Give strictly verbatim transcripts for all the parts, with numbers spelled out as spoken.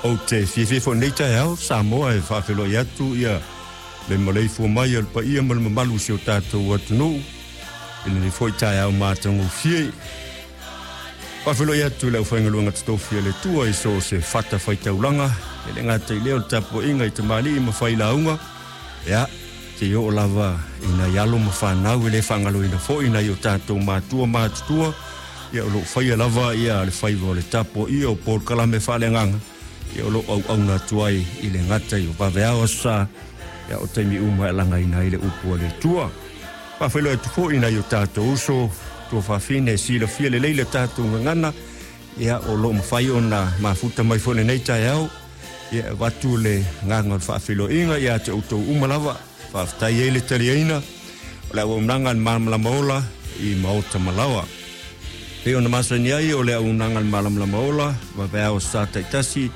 Ou te fiafia foi i lenei taeao Samoa e faafeiloai atu ia le maleifua mai o le paia ma le mamalu o si o tatou atunuu i lenei foi taeao matagofie. Faafeiloai atu i le aufaigaluega totofi a le Atua i so o se fatafaitaulaga, e le gata i lea o le tapuaiga i tamalii ma failauga, ia, seia oo lava i nai alo ma fanau e le faagaloina foi nai o tatou matua matutua, ia o lo o faia lava ia le faiva o le tapuaia o polokalame faaleagaga, ia o lo o auauna atu ai i le gata i o vaveao aso sa, ia o taimi uma e alagaina ai le upu a le Atua. Faafeiloai atu foi i nai o tatou uso tuafafine e silafia lelei le tatou gagana, ia o lo o mafai ona mafuta mai foi i lenei taeao, ia e avatu le agaga o le faafeiloaiga ia te outou uma lava. Faafetai ai le taliaina o le auaunaga a le Malamalama Ola i Maota Malaoa. Pei ona masani ai o le auaunaga a le Malamalama Ola, vaveao sa taitasi,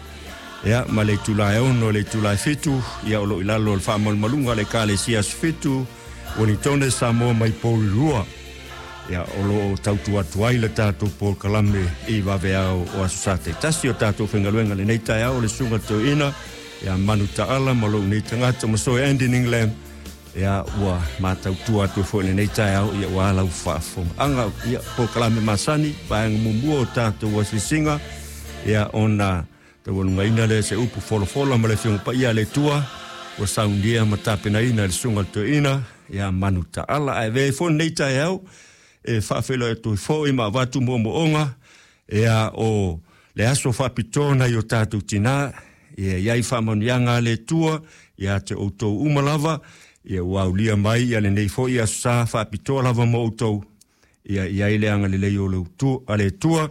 ia ma le itula e ono le itula e fitu, ia o lo o i lalo o le faamalumaluga a le Ekalesia Aso Fitu, Ueligitone Samoa mai Porirua. Ia o lo o tautua atu ai le tatou polokalame i vaveao o aso sa taitasi. O tatou faigaluega i lenei taeao o le Susuga Toeaina ia Manu Taala ma lou nei tagata masoe Andy Ninglam, ia ua matautua atu foi i lenei taeao ia ua lau faafofogaaga ia polokalame masani vaega muamua o tatou asiasiga, ia ona taualugaina lea se upu folafola ma le Afioga Paia a le Atua ua saunia ma tapenaina e le Susuga Toeaina ia Manu Taala. Ae avea ai foi lenei taeao e faafeiloai atu foi ma avatu moomooga ia o le aso faapitoa nai o tatou tinā, ia i ai faamanuiaga a le Atua ia te outou uma lava, ia ua aulia mai ia lenei foi aso sa faapitoa lava mo outou, ia i ai le agalelei o le utu, a le Atua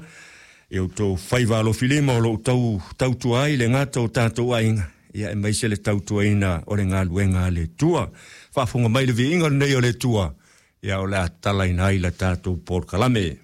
ia outou faiva alofilima o lo o tau tautua ai le gata o tatou aiga, ia aemaise le tautuaina o le galuega a le Atua. Faafofoga mai le viiga lenei o le Atua, ia o le a tatalaina ai la tatou polokalame.